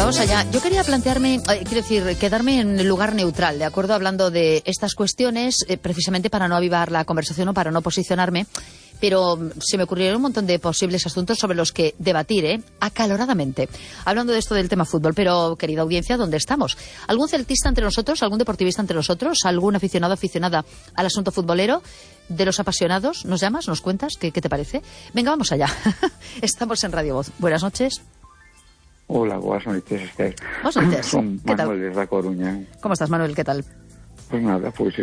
Vamos allá. Yo quería plantearme, quiero decir, quedarme en el lugar neutral, ¿de acuerdo? Hablando de estas cuestiones, precisamente para no avivar la conversación o para no posicionarme, pero se me ocurrieron un montón de posibles asuntos sobre los que debatir, acaloradamente. Hablando de esto del tema fútbol, pero, querida audiencia, ¿dónde estamos? ¿Algún celtista entre nosotros? ¿Algún deportivista entre nosotros? ¿Algún aficionado, aficionada al asunto futbolero? ¿De los apasionados? ¿Nos llamas? ¿Nos cuentas? ¿Qué te parece? Venga, vamos allá. Estamos en Radio Voz. Buenas noches. Hola, buenas noches, Esther. Buenas noches. Son Manuel desde A Coruña. ¿Cómo estás, Manuel? ¿Qué tal? Pues nada, pues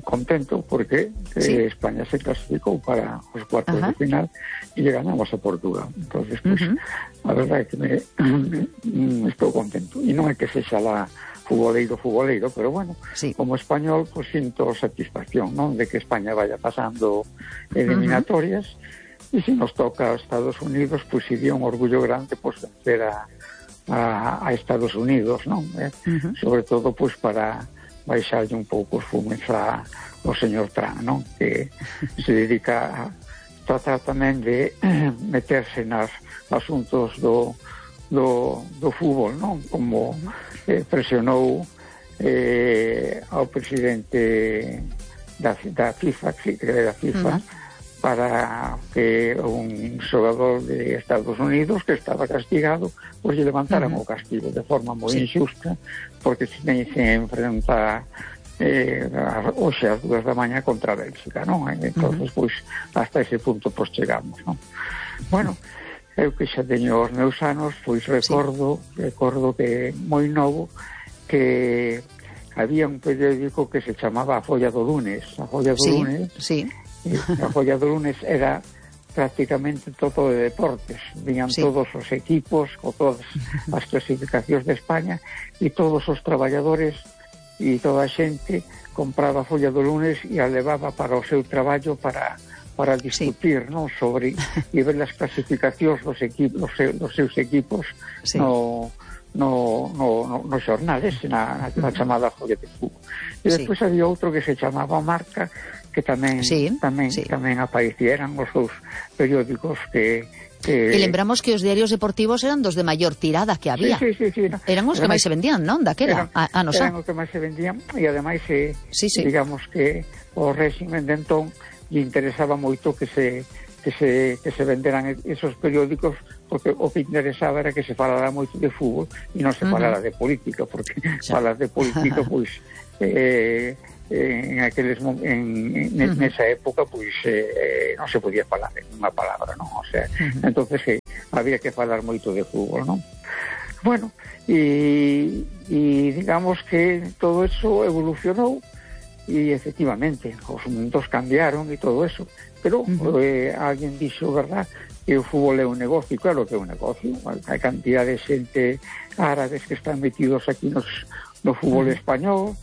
contento porque ¿Sí? España se clasificó para los cuartos de final y le ganamos a Portugal. Entonces, pues, la verdad es que me estoy contento. Y no es que sea la futboleiro, pero bueno, sí, como español, pues siento satisfacción, ¿no?, de que España vaya pasando eliminatorias. Y si nos toca a Estados Unidos, pues sería un orgullo grande pues vencer a Estados Unidos, ¿no? Sobre todo pues para baixarlle un pouco os fumes ao señor Trump, ¿no?, que se dedica a tratar tamén de meterse nos asuntos do fútbol, ¿no?, como presionou ao presidente da FIFA, para que un xogador de Estados Unidos que estaba castigado, pues lle levantaran o castigo de forma moi injusta, porque se enfrenta hoxe ás 2 da mañá contra Bélxica, non? Entonces, pois, hasta ese punto pues chegamos, non? Bueno, eu que xa teño os meus anos, pois recordo que moi novo que había un periódico que se chamaba A Folla do Lunes. A Folla do Lunes, a Folla do Lunes era prácticamente todo de deportes. Viñan todos os equipos con todas as clasificacións de España e todos os traballadores e toda a xente compraba a Folla do Lunes e a levaba para o seu traballo para discutir, non, sobre e ver as clasificacións dos seus equipos no xornal ese, na chamada Folla de Fútbol. E despois había outro que se chamaba Marca, que tamén aparecieran os seus periódicos que... E lembramos que os diarios deportivos eran dos de maior tirada que había. Sí. Eran os que máis se vendían, non? Daquela, eran os que máis se vendían, e ademais digamos que o réximen de entón lle interesaba moito que se venderan esos periódicos, porque o que interesaba era que se falara moito de fútbol e non se falara de política, porque falar de política, pois... nesa época pois non se podía falar unha palabra, non? O sea, entonces había que falar moito de fútbol, non? Bueno, e digamos que todo eso evolucionou e efectivamente os mundos cambiaron e todo eso, pero alguén dixo, verdad, que o fútbol é un negocio. Claro que é un negocio, hai cantidad de xente árabes que están metidos aquí no fútbol español,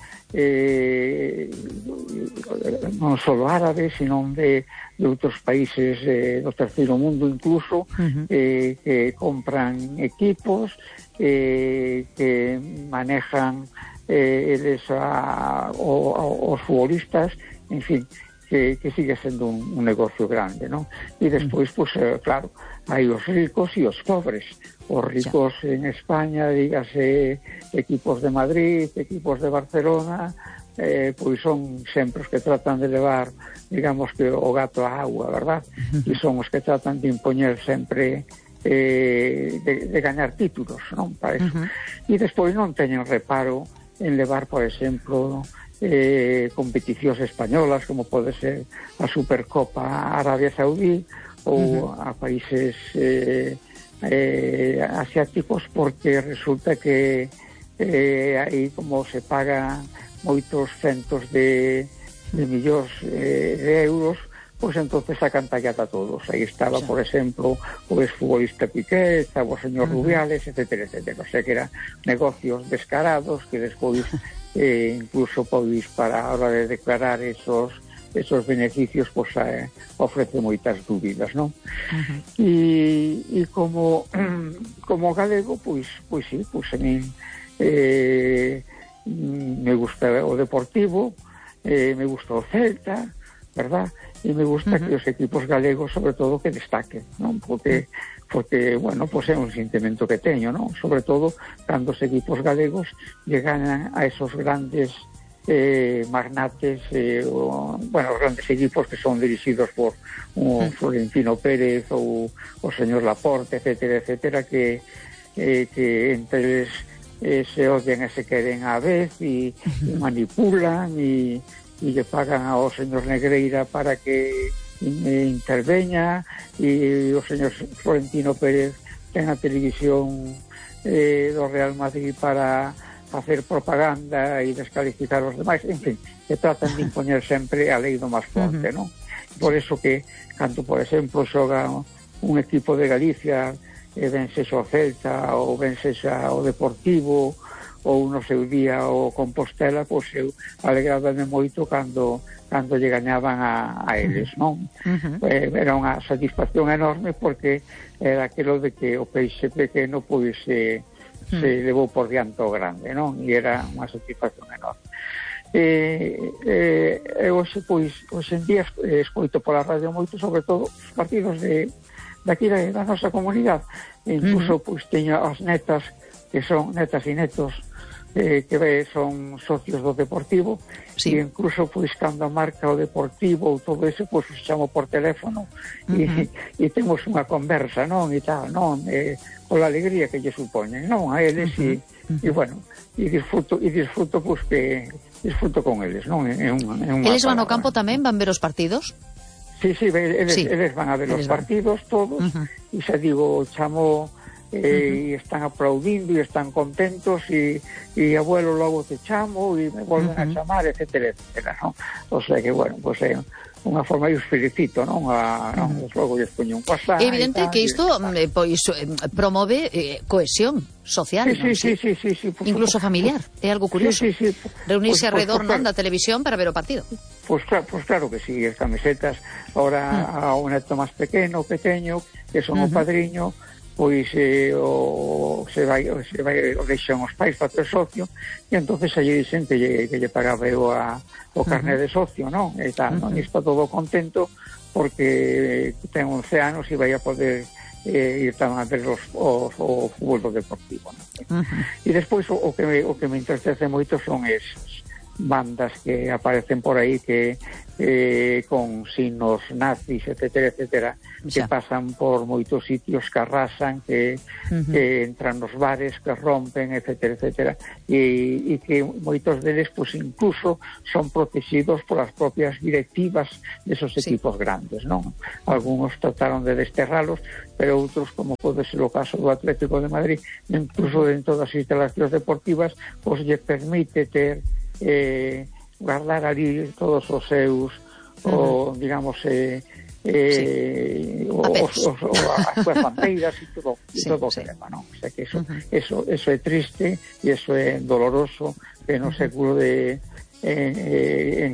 non só árabes, sino de outros países do terceiro mundo incluso, que compran equipos, que manejan eles os futbolistas, en fin, que sigue sendo un negocio grande, ¿no? E despois, pues, claro, hai os ricos e os pobres. Os ricos en España, dígase equipos de Madrid, equipos de Barcelona, pois son sempre os que tratan de levar, digamos que o gato á agua, verdad? E son os que tratan de impoñer sempre de gañar títulos, non? Para eso. E despois non teñen reparo en levar, por exemplo, competicións españolas, como pode ser a Supercopa Arabia Saudí ou a países asiáticos, porque resulta que aí como se pagan moitos centos de millóns de euros, pois entonces sacan tallata a todos. Aí estaba, por exemplo, o exfutbolista Piqué, estaba o señor Rubiales, etcétera. O sea que eran negocios descarados que despois incluso pois para a hora de declarar esos beneficios, pois ofrece moitas dúbidas, non? E como galego, pois sí, pois a min me gusta o Deportivo, me gusta o Celta, verdad? E me gusta que os equipos galegos, sobre todo, que destaquen, non? Porque porque, bueno, pues é un sentimento que teño, non? Sobre todo cando os equipos galegos llegan a esos grandes magnates, bueno, os grandes equipos que son dirixidos por Florentino Pérez ou o señor Laporte, etcétera, etcétera, que entre eles se odian e se queren á vez e manipulan e lle pagan ao señor Negreira para que interveña, e o señor Florentino Pérez ten a televisión do Real Madrid para facer propaganda e descalificar os demais, en fin, que tratan de impoñer sempre a lei do máis forte, non? Por eso que, cando, por exemplo, xoga un equipo de Galicia, ben sexa o Celta ou ben sexa o Deportivo ou no seu día o Compostela, pois eu alegrábame moito cando lle gañaban a eles, non? Era unha satisfacción enorme, porque era aquilo de que o peixe pequeno pois se levou por diante o grande, non? E era unha satisfacción enorme. Hoxe, pois, hoxe en día escoito pola radio moito, sobre todo os partidos daqui da nosa comunidade. Incluso, pois, teño as netas, que son netas e netos, que son socios do Deportivo, e incluso, pois, cando marca o Deportivo ou todo eso, pois, os chamo por teléfono e temos unha conversa, non? E tal, non? Pola alegría que lle supoñen, non? A eles, e bueno, e disfruto, pois, que disfruto con eles, non? Eles van ao campo tamén, van ver os partidos? Sí, eles van a ver os partidos todos, e xa digo, chamo, e están aplaudindo e están contentos, e abuelo, logo te chamo e me volven a chamar, etcétera, etcétera, non? O sea que, bueno, pues é unha forma, eu os felicito, non? Logo lles poño un WhatsApp. É evidente que isto pois promove cohesión social, non? Sí, incluso familiar, é algo curioso. Reunirse alrededor, non, da televisión para ver o partido. Pois claro que sí, as camisetas, ahora ao neto máis pequeno, pequeño, que son o padriño, pois se vai o deixan os pais para ter socio, e entonces allí dicen que lle pagaba eu o carné de socio, non? E tal, non? E está todo contento porque ten 11 anos e vai a poder ir tamén a ver o fútbol do Deportivo, non? E despois o que me entristece moito son esas bandas que aparecen por aí que con signos nazis, etcétera, etcétera, que pasan por moitos sitios, que arrasan, que entran nos bares, que rompen, etcétera, etcétera, e que moitos deles, pues, incluso son protegidos polas propias directivas desos equipos grandes, non? Algunos trataron de desterralos, pero outros, como pode ser o caso do Atlético de Madrid, incluso dentro das instalacións deportivas, pues lle permite ter guardar ali todos os seus digamos as súas bandeiras e todo o tema, non? O sea que eso é triste e eso é doloroso, que no século en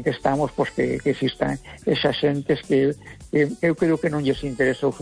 que estamos, pues, que existan esas xentes que eu creo que non lles interesa o